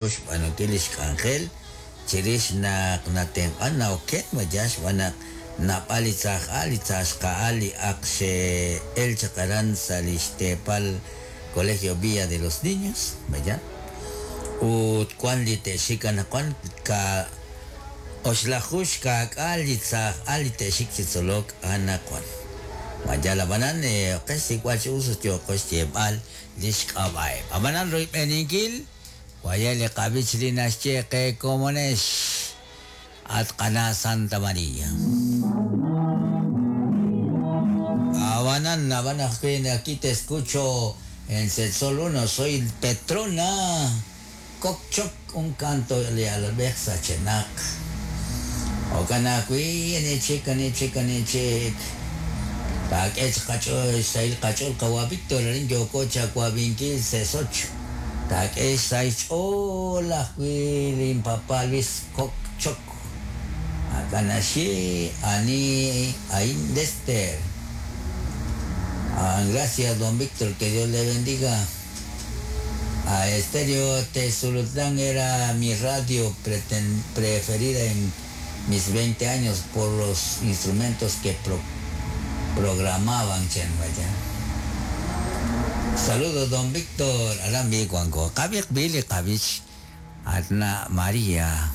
Xb'aanunkil li xk'anjel chirix naq natenq'an na'oken vaya xb'aan naq naab'al li tzaj al li tzaxqa'al li ak xe'el chaq aran sa' li xteepal Colegio Villa de los Niños vaya ut wan li te'xik anaqwan ka oxlaju xka'k'aal li tzaj al li te'xik chi tzolok anaqwan vaya ab'anan qe xsik'b'al chi us ut yooqo xyeeb'al li xk'ab'a'eb' ab'anan royb'eninkil Vaya li qab'ich li naxye qe komonex at qana Santa María. Abanan, abanan, aquí te escucho en Setsol 1, soy Petrona Kokchok, un canto de Albert Sachenak. Okanakwi, anichik, anichik, anichik. Taak'ech qach'ool, xsahil qach'ool qawa Víctor, arin yooko chawabinkil Sesoch. Taak'e xsahil xch'ool ajwi' lin papá Luis Kokchok. Akanaxi ani Ain Lester. Ah, gracias, don Víctor, que Dios le bendiga. A Estéreo Tezulutlán era mi radio preferida en mis 20 años por los instrumentos que programaban. Chen, vaya. Saludos, don Víctor. Arambi, Juanco. Kabik, Billy, Kabich. Atna María.